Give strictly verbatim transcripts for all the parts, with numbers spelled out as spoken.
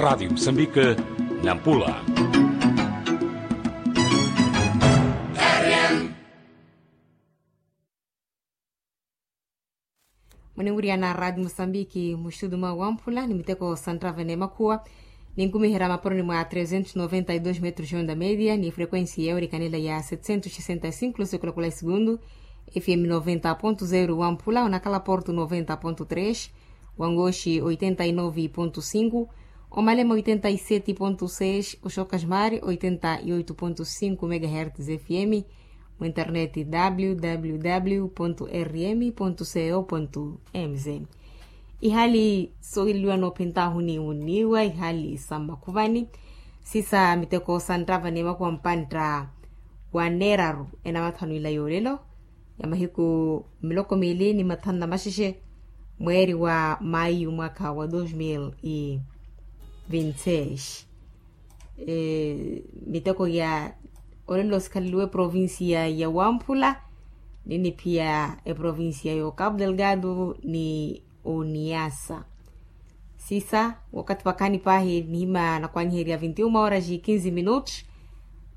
Radi musambike, nampula. Muninwiriyana radi musambiki muxudu mwa wamphula ni miteko santrava n'emakhuwa, ninkumiherya maporoni mwa trezentos noventa e dos metros onda media ni frequensi yewerikanela ya setecentos sesenta e cinco lusekulakola e segundu. Fm noventa ponto zero wamphula onakhala porto noventa ponto tres, wangoxi oitenta e nove ponto cinco, omalema oitenta e sete ponto seis, oxokasmari oitenta e oito ponto cinco megahertz fm. Mu internet www rm co mz. Ihali sohileliwa noophentahu ni muniwa ihali sa mmakhuvani, sisa miteko santrava ni makuwa mpantta wa neeraru enamathanu ila yoolelo ya mahiku miloko miili ni mathanu na maxexe, mweeri wa mayu mwakha wa dos mil e vinti seis. Miteko ya olelo sikhaleliwe eprovincia ya wamphula, ni niphiya eprovincia ya okapu delgado ni oniasa. Sisa wakathi vakhaani paahi nihima nakwanyiherya vinti uma horas e kinzi minutos.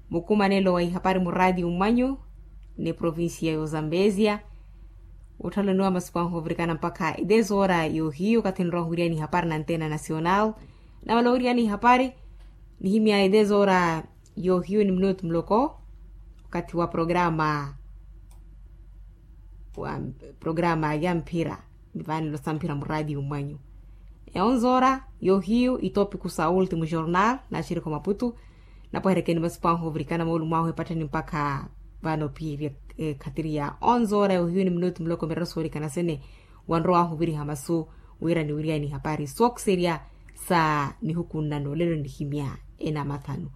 Mukumanelo wa ihapari muradi umanyu ni provincia ya ozambesia. Wotthalloniwa masiku anhu ovirikana mpakha e des horas yohiyu wakathi nrowa ohuviriya ni ihapari na antena nacional. Namala owiriya ni ihapari nihimya e des horas yohiyu ni minutu muloko wakathi wa programa wa programa ya mphira. Ni vaanelo sa mphira muradi umwanyu. E onze horas yohiyu itopiku sa ultimu jornal na axirikho maputu. Napweherekeni masiku anhu ovirikana moolumo ahu epattheni mpakha vano piirya ekhatiri ya onze horas yohiyu ni minutu muloko mirero soorikana sene. Wanrowa ahu oviriha masu wira niwiriyani hapari sookiserya sa nihukunna noolelo nihimya enamathanu.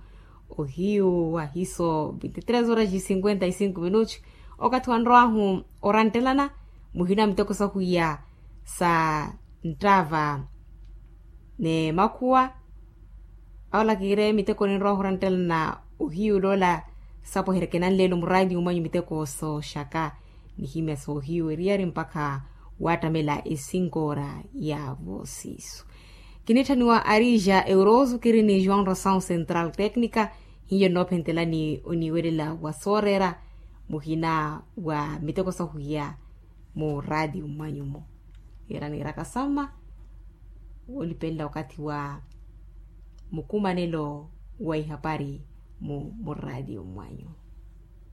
Ohiyu ahiso vinti tres horas e cinquenta e cinco minutos. Okathi wanrowahu oranttelana muhina miteko sahwiya sa nttava ni makhuwa. Awola kiire miteko ninrowahu oranttelana ohiyu loola sapweherekena nlelo muraati umwanyu miteko sooxaka. Nihimya soohiyu eriyari mpakha waattamela e cinco horas ya voosiiso. Kinitthaniwa arija euroso kiri ni joão ração central técnica. Hiyo nnoophentelani oniwelela wa sooreera muhina wa miteko sahwiya muraati umwanyu-mo. Yira niiraka samma woolipelela wakathi wa mukumanelo wa ihapari mu muraati umwanyu.